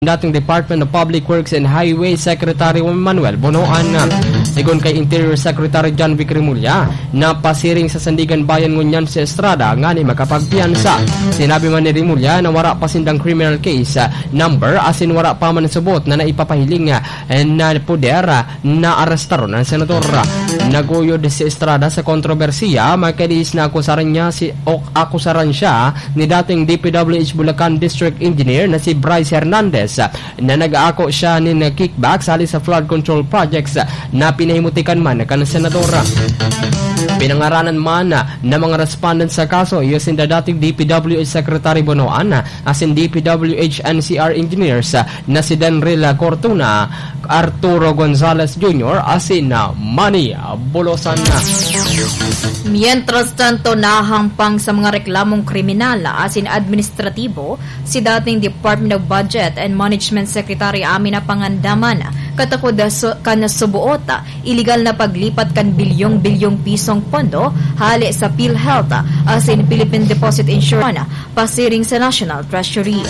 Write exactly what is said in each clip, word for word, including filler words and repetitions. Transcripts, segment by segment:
dating Department of Public Works and Highway Secretary Manuel Bonoan. Sigon kay Interior Secretary John Vic Remulla, napasiring sa Sandiganbayan ngunyan si Estrada ngani makapagpiyansa. Sinabi man ni Remulla na wara pa sindang criminal case, ah, number asin wara pa man subot na naipapahiling, ah, na poder, ah, na arestaron an senador. Naguyod si Estrada sa kontrobersiya, makalihis na akusaran niya si, o akusaran siya ni dating D P W H Bulacan District Engineer na si Bryce Hernandez, na nag-aako siya nin kickbacks hali sa flood control projects na pinahimutikan man kan senador. Pinangaranan man na mga respondent sa kaso, iyo sinda dating D P W H Secretary Bonoan asin D P W H N C R engineers na si Denril Cortuna, Arturo Gonzalez Junior asin Manny Bulosan. Mientras tanto, nahampang sa mga reklamong kriminal asin administratibo si dating Department of Budget and Management Secretary Amina Pangandaman, katakod su-, kan subuot, iligal na paglipat kan bilyong-bilyong pisong pondo hale sa PhilHealth asin Philippine Deposit Insurance pasiring sa National Treasury.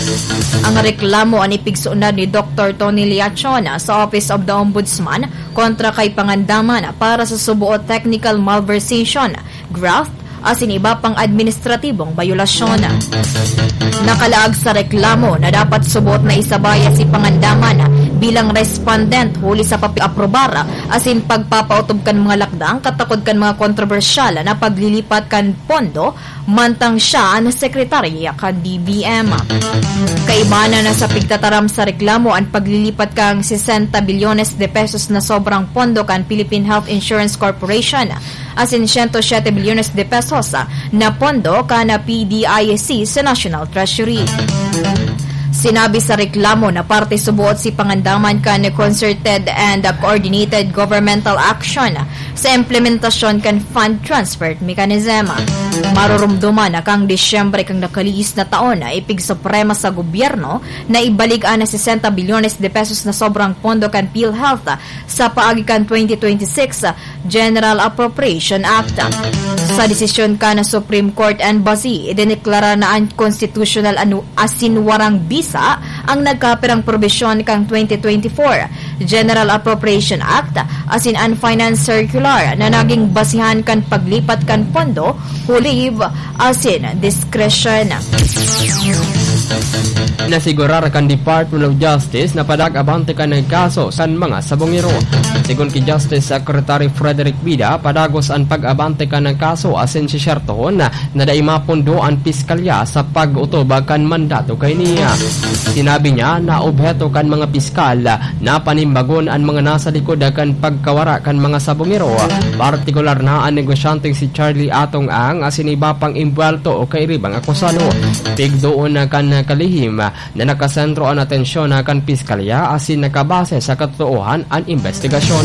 Ang reklamo an ipigsunod ni Doctor Tony Liachon sa Office of the Ombudsman kontra kay Pangandaman para sa subuot technical malversation, graft, asin iba pang administratibong bayolasyon. Nakalaag sa reklamo na dapat suboot na isabaya si Pangandaman bilang respondent huli sa pag-aprobar asin pagpapautob kan mga lakdang katakod kan mga kontrobersyal na paglilipat kan pondo mantang siya an sekretarya kan D B M. Kaiba na sa pigtataram sa reklamo an paglilipat kan sesenta bilyones de pesos na sobrang pondo kan Philippine Health Insurance Corporation asin siyento siyete bilyones de pesos na pondo kan P D I C sa National Treasury. Sinabi sa reklamo na parte suboot si Pangandaman kan concerted and coordinated governmental action sa implementasyon kan fund transfer mechanism. Marurumduman na kan Disyembre kan nakalihis na taon na ipigsuprema sa gobyerno na ibalik an sesenta bilyones de pesos na sobrang pondo kan PhilHealth sa paagi kan twenty twenty-six General Appropriation Act. Sa desisyon kan Supreme Court Embassy, idineklara na unconstitutional anu-, asin warang bisa ang nagkapirang probisyon kan twenty twenty-four General Appropriation Act asin an Finance Circular na naging basihan kan paglipat kan pondo, huli asin diskresyon. Nasigurar kan Department of Justice na padag-abante kan kaso kan mga sabongero. Sigon ki Justice Secretary Frederick Vida, padagos an pag-abante kan kaso asin sisyertohon na dai mapondo an piskalya sa pag-otob kan mandato kaini. Sinabi niya na obheto kan mga piskal na panimbagon an mga nasa likod kan pagkawara kan mga sabongero, partikular na an negosyanteng si Charlie Atong Ang asin iba pang imbwelto o kairibang akusado. Pigdoon na kan kalihim na nakasentro an atensyon na kan piskalya asin nakabase sa katotoohan an imbestigasyon.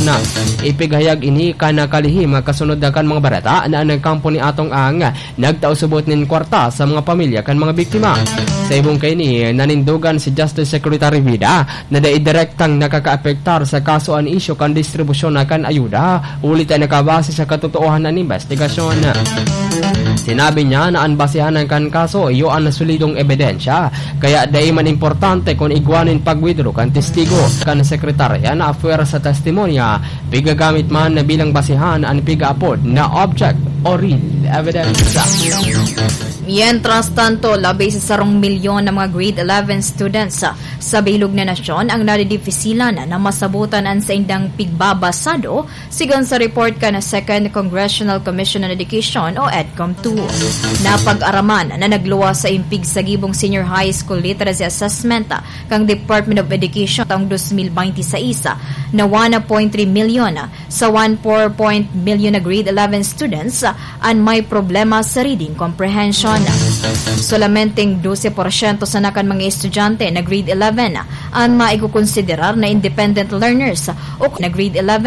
Ipighayag ini kan kalihim kasunod na kan mga bareta na an kampo ni Atong Ang nagtao subot nin kwarta sa mga pamilya kan mga biktima. Sa ibong kaini, nanindogan si Justice Secretary Vida na dai direktang nakakaapektar sa kaso an isyu kan distribusyon na kan ayuda, huli ta nakabase sa katotoohan an imbestigasyon. Sinabi niya na an basehan kan kaso iyo an solidong ebidensya, kaya dai man importante kun igwa nin pag-withdraw kan testigo. Kan sekretarya na afera sa testimonya, pigagamit man na bilang basehan an pigaapod na object o real evidence. Mientras tanto, labi sa sarong milyon na mga grade eleven students sa, sa bilog na nasyon ang nadidipisilan na masabutan an saindang pigbabasado, sigon sa report kan Second Congressional Commission on Education o EDCOM two. Napag-araman na nagluwas sa impig sa gibong Senior High School Literacy Assessment kan Department of Education taong dos mil baynte sais na one point three milyon sa one four point milyon na grade eleven students an may problema sa reading comprehension. Solamenteng dose porsyento sana kan mga estudyante na grade eleven an maikokonsiderar na independent learners o na grade eleven